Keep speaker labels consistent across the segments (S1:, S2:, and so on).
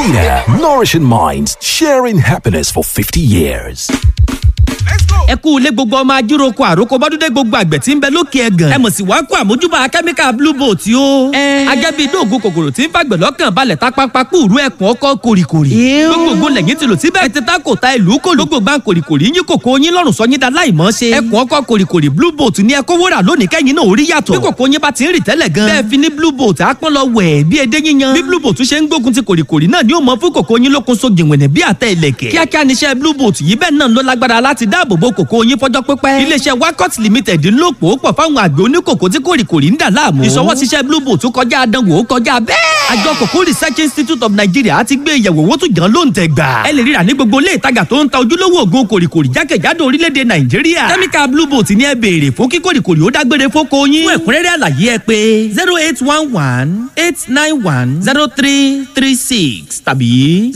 S1: Vita, nourishing minds, sharing happiness for 50 years.
S2: Ẹ kú ilé, gbogbo ọmọ ajíroko, àròkọ bọ́dúndé, gbogbo àgbẹ̀ tí ń bẹ lókè ẹ̀gàn. Ẹ mọ̀ sí wàá kó àmójúbà kẹ́míkà Blue Boat o. Agẹ́bí dóògùn kòkòrò tí ń fàgbẹ̀ lọ́kàn balẹ̀ tápápá kúrú ẹ̀kún ọkọ̀ kòrìkòrì. Gbogbo ògùn lẹ́yìn ti lò síbẹ̀. Ẹ ti ta kò ta ìlú kò lógbò gbà kòrìkòrì yín kòkó yín lọ́rùn sọ yín da láì mọ́ ṣe. Ẹ̀kún ọkọ̀ kòrìkòrì Blue Boat ní ẹkọ wúrà lónìí kẹ́yìn náà orí yàtọ̀. Bí kòkó yín bá ti ń rì tẹ́lẹ̀ gan, bẹ́ẹ̀ fi ní Blue Boat àpọ́n lọ wẹ̀ bí edé yíyan. Bí Blue Boat ṣe ń gbógun ti kòrìkòrì náà ni ó mọ fún kòkó yín lókun so jìnwìnì bí àtẹ ìlẹ̀kẹ̀. Kíákíá níṣẹ́ Blue Boat yìí, bẹ́ẹ̀ náà ló lágbára láti dáàbò bo kòkó yín fọjọ́ pípẹ́. Iléeṣẹ́ Wakot Limited ń lò pò pọ̀ fáwọn àgbẹ̀ oníkòkó tí kòrìkòrì ń dà láàmú. Ìṣọwọ́síṣẹ́ Blue Boat kọjá àdánwò, kọjá bẹ́ẹ̀. Àjọ Kòkó Research Institute of Nigeria ti gbé ìyẹ̀wò owó tó jàn ló ń tẹ̀ gbà. Ẹ lè ríra ní gbogbo ilé ìtajà tó ń ta ojúlówó ògùn kòrìkòrì jákèjádò orílẹ̀-èdè Nàìjíríà. Kẹ́míkà Blue Boat ní ẹ béèrè fún kí kòrìkòrì ó dágbére fóko yín. Fún ẹ̀kúnrẹ́rẹ́ àlàyé, ẹ pé 08118910336 tàbí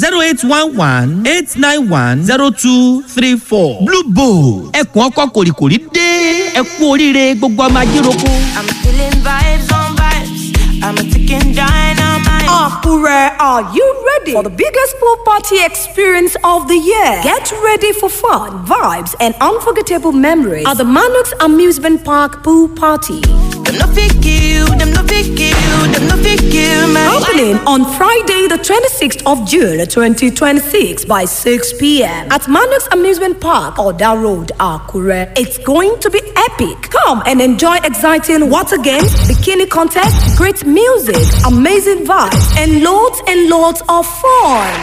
S2: 08118910234. Blue Boat, ẹkùn ọkọ kòrìkòrì dé. Ẹ kú oríire, gbogbo ọmọ ajíroko.
S3: I'm feeling vibes on vibes. I'm a ticking dynamite.
S4: Akure, are you ready for the biggest pool party experience of the year? Get ready for fun, vibes, and unforgettable memories at the Manox Amusement Park Pool Party.
S3: Them no fit you, them no fit you, them no fit you, man.
S4: Opening on Friday, the 26th of June 2026 by 6 p.m. at Manox Amusement Park, Oda Road, Akure. It's going to be epic. Come and enjoy exciting water games, bikini contest, great music, amazing vibes, and loads of fun.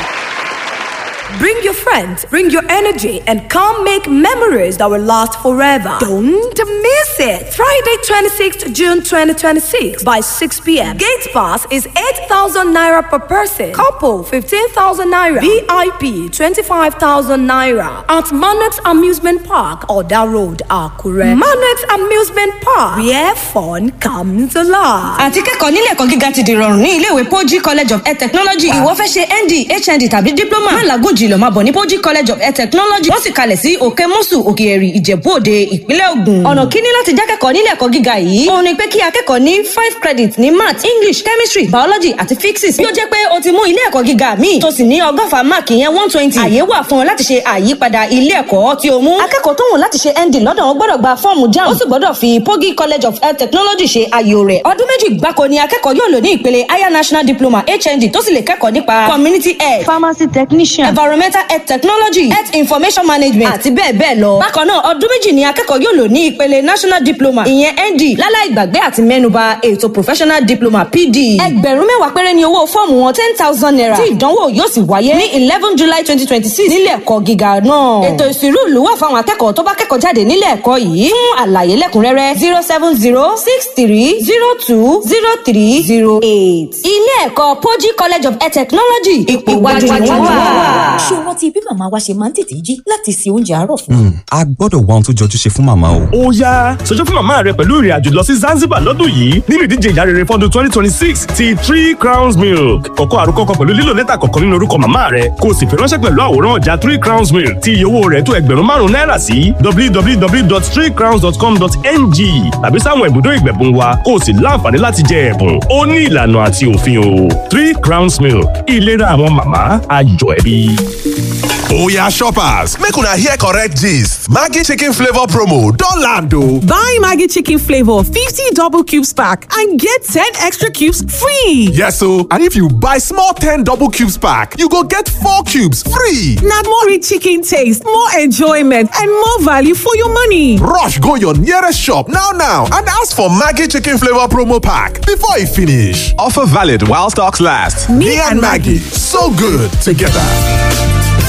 S4: Bring your friends, bring your energy, and come make memories that will last forever. Don't miss it. Friday, 26th June 2026 by 6 p.m. Gate pass is 8,000 naira per person. Couple, 15,000 naira. VIP, 25,000 naira. At Manox Amusement Park, Oda Road, Akure. Manox Amusement Park, where fun comes alive.
S5: Àti kẹ́kọ̀ọ́ nílé ẹ̀kọ́ gíga ti dìrọ̀rùn ní iléèwé Poji College of Air Technology. Ìwọ fẹ́ ṣe ND, HND tàbí diploma? Má làágùn jìnà, máa bọ̀ ní Poji College of Air Technology. Wọ́n sì kalẹ̀ sí Òkè Mùsù, Òkè Ẹ̀rì, Ìjẹ̀bú Òde, Ìpínlẹ̀ Ògùn. Ọ̀nà kíní láti jákẹ́kọ̀ọ́ nílé ẹ̀kọ́ gíga yìí òun ni pé kí akẹ́kọ̀ọ́ ní 5 credit ní math, English, chemistry, biology àti physics. Bí ó jẹ́ pé o ti mú ilé ẹ̀kọ́ gíga míì tó sì ní 120 mark, ìyẹn 120, àyè wà fún ọ láti ṣe àyípadà ilé ẹ̀kọ́ tí o mú. Akẹ́kọ̀ọ́ tó wùn láti ṣe ND lọ́dọ̀ wọn gbọ́dọ̀ gba fọ́ọ̀mù JAMB, ó sì gbọ́dọ̀ fi Pogi College of Health Technology ṣe àyò rẹ̀. Ọdún 2 gbáko ni akẹ́kọ̀ọ́ yóò lò ní ìpele higher national diploma, HND, tó sì lè kẹ́kọ̀ọ́ nípa community health, pharmacy technician, environmental health technology, health information management àti bẹ́ẹ̀ bẹ́ẹ̀ lọ. Bákan náà, ọdún 2 ni akẹ́kọ̀ọ́ yóò lò ní ìpele national diploma, ìyẹn ND. Láláì gbàgbé àti mẹ́nuba ètò professional diploma, PD. 10,000 péré ni owó fọ́ọ̀mù wọn, ₦10,000, tí ìdánwò yóò sì wáyé ní 11 July 2026 nílé ẹ̀kọ́ gíga náà. Ètò ìsìnrú ìlú wà fáwọn akẹ́kọ̀ọ́ tó bá kẹ́kọ̀ọ́ jáde nílé ẹ̀kọ́ yìí. Fún àlàyé lẹ́kùnrẹ́rẹ́, 07063020308. Ilé ẹ̀kọ́ Poji College of Air Technology, ipò iwájú ni wọ́n wà.
S6: Ṣé o rántí bí màmá wa ṣe máa ń tètè jí láti se oúnjẹ àárọ̀ fún wa?
S7: A gbọ́dọ̀ wá ohun tó jọjú ṣe fún màmá o.
S8: Ó yá, ṣojú fún màmá rẹ pẹ̀lú ìrìn àjò lọ sí Zanzibar lọ́dún yìí nínú ìdíje Ìyá Rere fọ́dún 2026 ti Three Crowns Milk. Kọ̀kọ́ àròkọ kan pẹ̀lú lílo lẹ́tà kọ̀ọ̀kan nínú orúkọ màmá rẹ, kó o sì fi ránṣẹ́ pẹ̀lú àwòrán ọjà Three Crowns Milk tí iye owó rẹ̀ tó 5,000 náírà sí www.threecrowns.com.ng tàbí sáwọn ibùdó ìgbẹ̀bùn wa, kó o sì láǹfààní láti jẹ ẹ̀bùn. Ó ní ìlànà àti òfin o. Three Crowns Milk, ìlera àwọn màmá, ayọ̀ ẹbí.
S9: Oya shoppers, make una hear correct gist. Maggi chicken flavour promo don land o.
S10: Buy Maggi chicken flavour 50 double cubes pack and get 10 extra cubes free.
S9: Yes o, and if you buy small 10 double cubes pack, you go get 4 cubes free.
S10: Na more rich chicken taste, more enjoyment and more value for your money.
S9: Rush go your nearest shop now now and ask for Maggi chicken flavour promo pack before e finish.
S7: Offer valid while stocks last.
S9: Me and Maggi, so good together.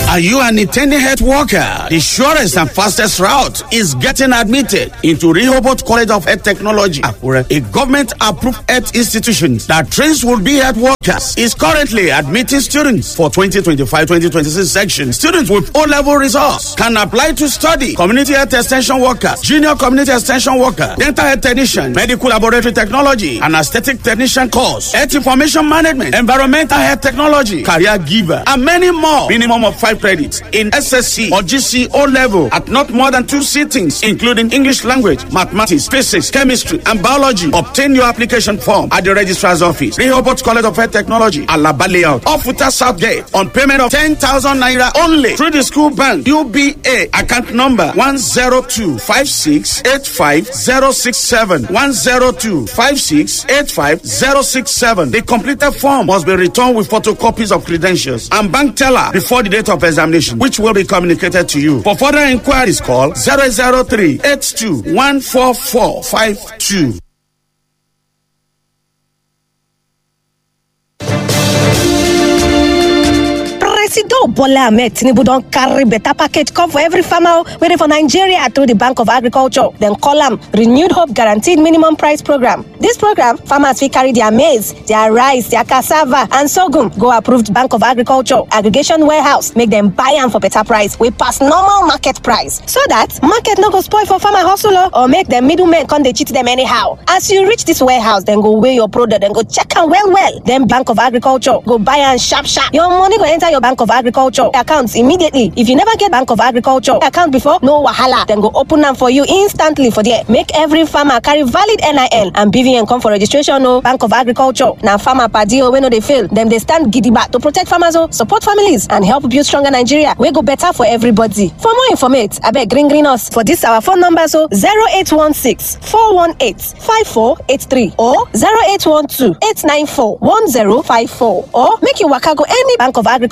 S11: Are you an intending health worker? The surest and fastest route is getting admitted into Rehoboth College of Health Technology, Akure, a government-approved health institution that trains would-be health workers, is currently admitting students for 2025-2026 section. Students with O-level results can apply to study community health extension workers, junior community extension worker, dental health technician, medical laboratory technology, and aesthetic technician course, health information management, environmental health technology, career giver, and many more. Minimum of 5 credits in SSC or GC O level at not more than 2 sittings, including English language, mathematics, physics, chemistry, and biology. Obtain your application form at the registrar's office, Rehoboth College of Health Technology, Alaba Layout, Ofuta South Gate, on payment of 10,000 naira only through the school bank, UBA, account number 102-5685-067, 102-5685-067. The completed form must be returned with photocopies of credentials and bank teller before the date of examination, which will be communicated to you. For further inquiries, call 003 82 14452.
S4: Presido Bola Ahmed Tinubu don carry better package come for every farmer wey dey for Nigeria through the Bank of Agriculture. Dem call am Renewed Hope Guaranteed Minimum Price Program. This program, farmers fit carry their maize, their rice, their cassava and sorghum go approved Bank of Agriculture aggregation warehouse make dem buy am for better price wey pass normal market price, so that market no go spoil for farmer hustle o, or make dem middlemen come dey cheat dem anyhow. As you reach this warehouse, dem go weigh your product, dem go check am well well. Then Bank of Agriculture go buy am sharp sharp. Your money go enter your Bank of Agriculture account immediately. If you never get Bank of Agriculture account before, no wahala. Dem go open am for you instantly for there. Make every farmer carry valid NIN and BVN come for registration o. Bank of Agriculture na farmer padi o wey no dey fail. Dem dey stand gidigba to protect farmers o, support families and help build stronger Nigeria wey go better for everybody. For more informate, abeg green green us for this our phone numbers o: 0816 418 5483 or 0812 894 1054, or make you waka go any Bank of Agriculture